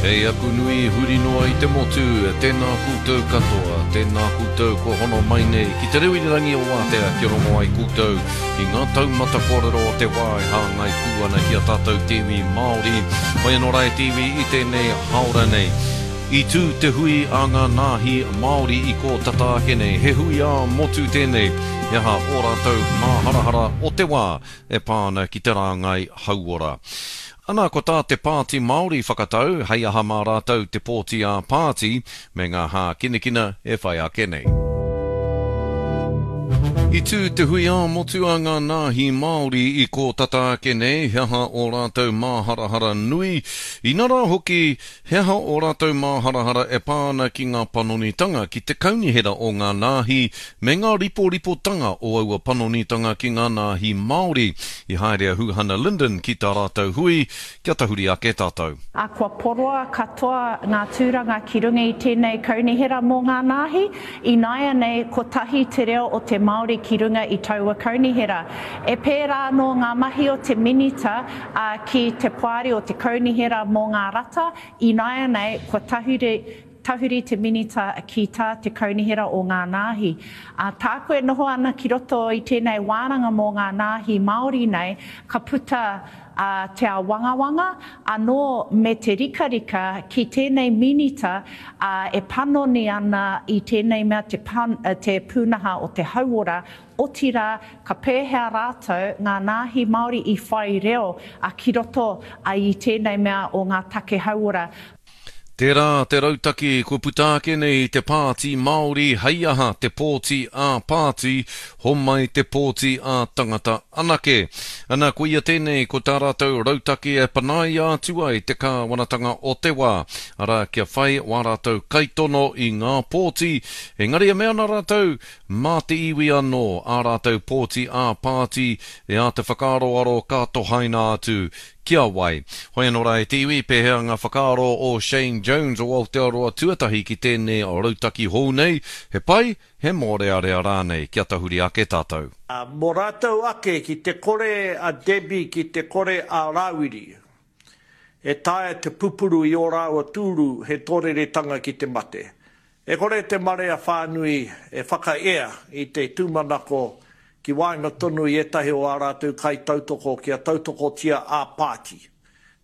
Kei aku nui huri noa i te motu, tēnā koutou katoa, tēnā koutou kua hono mai nei ki te reo irirangi o Wātea kia rongo ai koutou i ngā taumata kōrero o te wā e hāngai pū ana ki a tātou te iwi Māori. Whai anō rā e te iwi i tēnei hāora nei. I tū te hui a ngā nāhi Māori i kō tata ake nei, he hui ā-motu tēnei, he aha ō rātou māharahara o te wā e pā ana ki te rāngai hauora. Ana, ko tā te Pāti Māori whakatau, hei aha mā rātou te pōti ā-pāti me ngā hākinakina e whai ake nei. I tū te hui ā-motu a ngā nāhi Māori i kō tata ake nei, he aha ō rātou māharahara nui, inarā hoki, He aha ō rātou māharahara e pā ana ki ngā panonitanga ki te kaunihera o ngā nāhi me ngā riporipotanga o aua panonitanga ki ngā nāhi Māori? I haere a Huhana Lyndon ki tā rātou hui, kia tahuri ake tātou. Ā, kua poroa katoa ngā tūranga ki runga i tēnei kaunihera mō ngā nāhi, ināianei kotahi te reo o te Māori ki runga i taua kaunihera. E pērā anō ngā mahi o te Minita, ā, ki te Poari o te Kaunihera mō ngā Rata, ināianei kua tahuri, tahuri te Minita ki tā te Kaunihera o ngā Nāhi. Ā, tāku e noho ana ki roto i tēnei wānanga mō ngā nāhi Māori nei, ka puta, ā, te āwangawanga, anō me te rikarika ki tēnei Minita, ā, e panoni ana i tēnei mea te pan, te pūnaha o te hauora, Otirā, ka pēhea rātou, ngā nāhi Māori i whai reo a ki roto a i tēnei mea o ngā take hauora. Tērā te rautaki kua puta ake nei i te Pāti Māori hei aha te pōti ā-pāti, homai te pōti ā-tangata anake. Ana, koia tēnei ko tā rātou rautaki e panaia atu ai te kāwanatanga o te wā, arā, kia whai wā rātou kaitono i ngā pōti, engari e mea ana rātou, Mā te iwi anō ā rātou pōti ā-pāti e āta whakaaroaro ka tohaina atu ki a wai. Hoi anō rā e te iwi, pēhea ngā whakaaro o Shane Jones o Aotearoa Tuatahi ki tēnei rautaki hou nei, he pai, he mōrearea rānei kia tahuri ake tātou? Mō rātou ake ki te kore a Debbie ki te kore a Rāwiri e taea te pupuru i ō rāua tūru he tōreretanga ki te mate. E kore te marea whānui e whakaea i te tūmanako ki waenga tonu i ētahi o ā rātou kaitautoko kia tautokotia ā-pāti,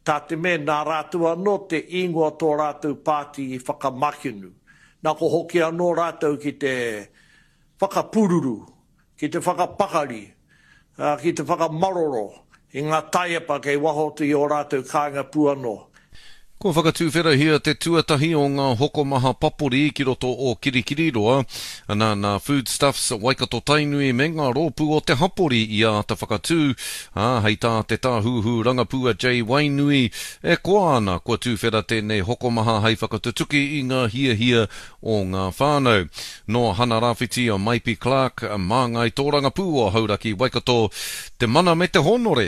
tā te mea nā rātou anō te īngoa tō rātou pāti i whakamakenu, nā ko hoki anō rātou ki te whakapūruru ki te whakapakari, ā, ki te whakamaroro i ngā taiepa kei waho atu i ō rātou kāinga pū anō. Kua whakatuwherahia te tuatahi o ngā hokomaha papori ki roto o Kirikiriroa, ana, nā Foodstuffs, Waikato-Tainui me ngā rōpū o te hapori i āta whakatū, ā, hei tā te tāhuhu rangapū a Jay Wainui, e koa ana kua tuwhera tēnei hokomaha hei whakatutuki i ngā hiahia o ngā whānau. Nō Hana Rāwhiti a Maipi Clarke, māngai tōrangapū o Hauraki Waikato, te mana me te hōnore.